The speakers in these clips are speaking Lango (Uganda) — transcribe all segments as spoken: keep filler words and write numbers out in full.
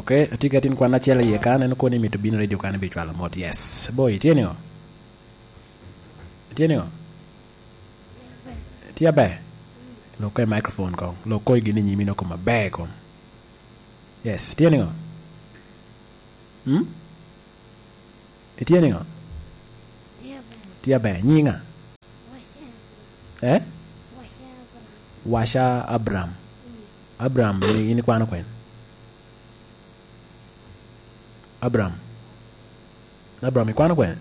Ok, atye ki atin kwan acel iye ka, aneno koni mito bino redio kan ibicwalo mot. Yes. Boy, itye niŋo? Itye niŋo? Itye aber? Lok i microphone koŋ. Lok koŋ i gin i nyimi noko maber koŋ. Yes, itye niŋo? Hmm? Itye niŋo? Tye aber. Tye aber. Nyiŋa? Washa. Eh? Washa Abraham. Washa Abraham. Mm. Abraham, in, in ikwano kwene? Abraham. Abraham, ikwano kwene?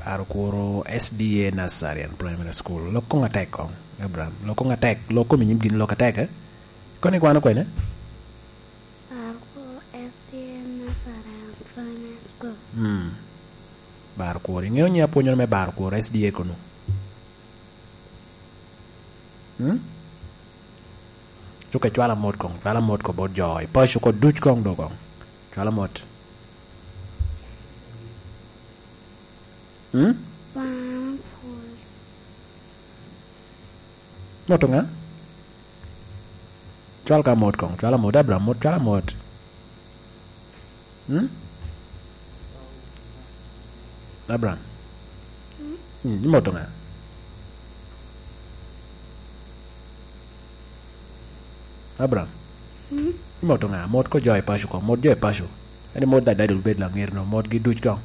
Paro kuro S D A Nursery and Primary School. Lok koŋ atek koŋ, Abraham. Lok koŋ atek. Lok komi nyim gin lok atek, eh? Kono ikwano kwene? Paro kuro S D A Nursery and Primary School. Hmm. Baro kuro. Iŋeo nyi apwonyoro me baro kuro S D A kono? Hmm? Cuka icwala mot koŋ, cwala mot koŋ bot jo i paco koŋ duc koŋ do koŋ. Cwala mot. Hmm? Wan pwod. Mot ŋa? Cwal ka mot koŋ, cwala mot, Abraham mot, cwala mot. Hmm? Abraham. Hmm, imoto ŋa? Abraham. Hmm? Imoto ŋa? Mot ko jo i paco ko, mot jo i paco. Eni mot dadadi obed laŋet no, mot gi duc koŋ.